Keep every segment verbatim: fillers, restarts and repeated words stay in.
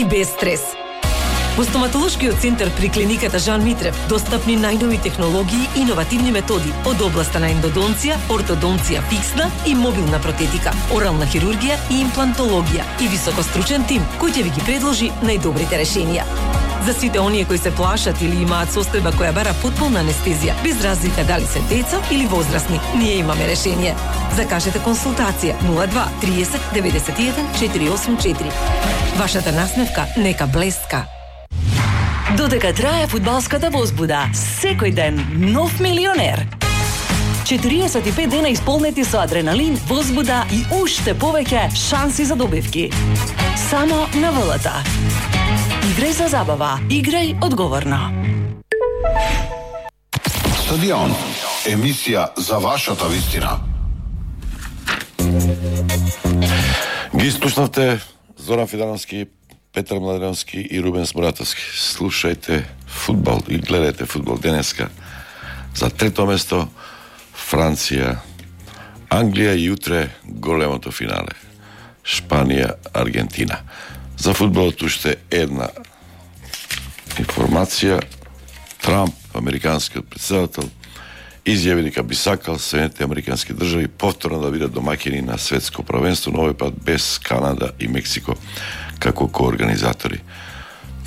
и без стрес. Во стоматолошкиот центар при клиниката Жан Митрев достапни најнови технологии и иновативни методи од областа на ендодонција, ортодонција фиксна и мобилна протетика, орална хирургија и имплантологија и високостручен тим кој ќе ви ги предложи најдобрите решенија. За сите оние кои се плашат или имаат состојба која бара потполна анестезија, без разлика дали се деца или возрастни, ние имаме решение. Закажете консултација нула два триесет деветдесет и еден четири осум четири. Вашата насмевка нека блеска. Додека трае фудбалската возбуда, секој ден нов милионер. четириесет и пет дена исполнети со адреналин, возбуда и уште повеќе шанси за добивки. Само на ВЛТ. Играј за забава, играј одговорно. Стадион, емисија за вашата вистина. Ги слушнавте Зоран Фидановски, Петар Младеновски и Рубен Смуратовски. Слушајте фудбал и гледајте фудбал денеска. За трето место Франција, Англија и утре големото финале. Шпанија, Аргентина. За фудбалот уште една информација. Трамп, американскиот претседател, изјави дека би сакал Соединетите американски држави повторно да бидат домаќини на светско првенство, но овој пат без Канада и Мексико како коорганизатори.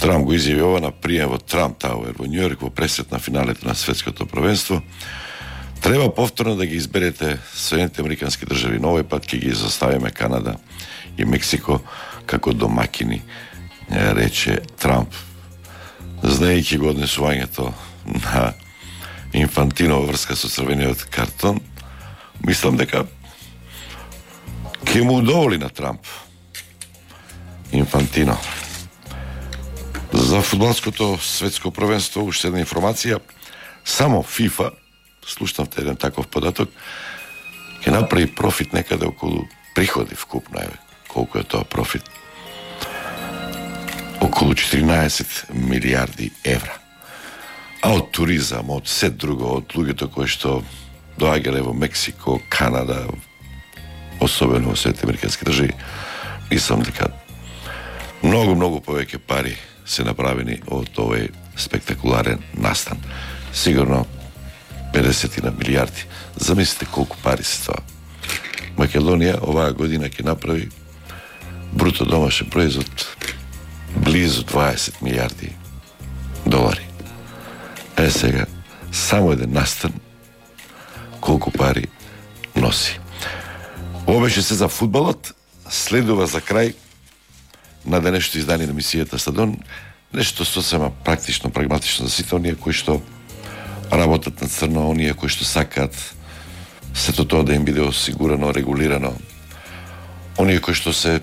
Трамп го изјави ова на прием во Трамп Тауер во Њујорк во пресет на финалето на светското првенство. Треба повторно да ги изберете Соединетите американски држави, но овој пат ќе ги заставиме Канада и Мексико како домаќини, рече Трамп. Знаејќи го однесувањето на Инфантино во врска со црвениот картон, мислам дека ќе му удоволи на Трамп Инфантино. За фудбалското светско првенство уште една информација. Само ФИФА, слушнавте еден таков податок, ќе направи профит некаде околу приходи вкупно, еве, колку е тоа профит? Околу четиринаесет милиарди евра. А од туризам, од се друго, од луѓето кои што доаѓале во Мексико, Канада, особено во Соединетите американски држави, мислам дека многу, многу повеќе пари се направени од овој спектакуларен настан. Сигурно педесет милиарди. Замислите колку пари се тоа. Македонија оваа година ќе направи бруто домашен производ близу дваесет милиарди долари. Е сега, само еден настан колку пари носи. Ова беше се за фудбалот. Следува за крај на денешното издание на емисијата Стадион нешто сосема практично, прагматично за сите оние кои што работат на црно, оние кои што сакаат сето тоа да им биде осигурано, регулирано, оние кои што се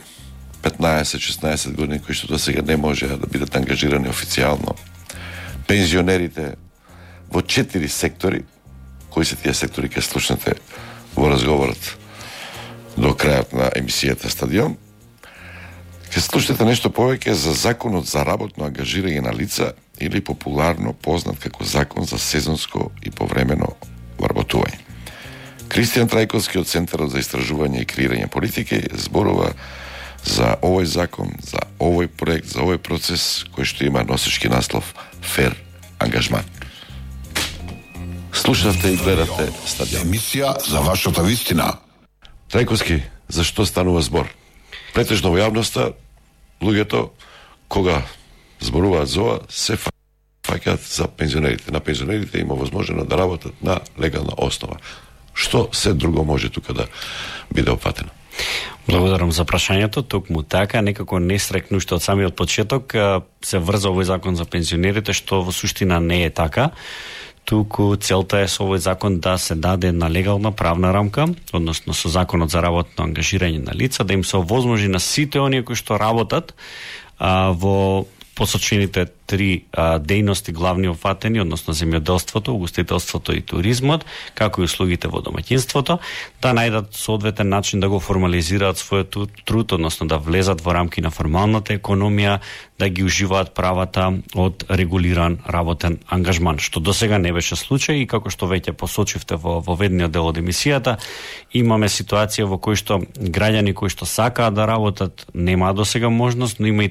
петнаесет-шеснаесет години, кои што до сега не може да бидат ангажирани официјално, пензионерите во четири сектори, кои се тие сектори ќе слушнете во разговорот до крајот на емисијата Стадион. Ќе слушнете нешто повеќе за законот за работно ангажирање на лица или популарно познат како закон за сезонско и повремено вработување. Кристијан Трајковски од Центарот за истражување и креирање политики зборува за овој закон, за овој проект, за овој процес кој што има носечки наслов Фер ангажман. Слушавте и гледате Стадион. Емисија за вашата вистина. Трајковски, за што станува збор? Претежно во јавноста луѓето кога зборуваат за ова се фаќаат за пензионерите. На пензионерите има возможно да работат на легална основа. Што се друго може тука да биде опфатено? Благодарам за прашањето. Токму така, некако нестрекно уште од самиот почеток се врза овој закон за пензионерите, што во суштина не е така. Туку целта е со овој закон да се даде на легална правна рамка, односно со законот за работно ангажирање на лица, да им се овозможи на сите оние кои што работат а, во посочените три а, дејности главни опфатени, односно земјоделството, угостителството и туризмот, како и услугите во домаќинството, да најдат соодветен начин да го формализираат својот труд, односно да влезат во рамки на формалната економија, да ги уживаат правата од регулиран работен ангажман, што досега не беше случај и како што веќе посочивте во воведниот дел од емисијата, имаме ситуација во кој што граѓани кои што сакаат да работат немаат досега можност, но има и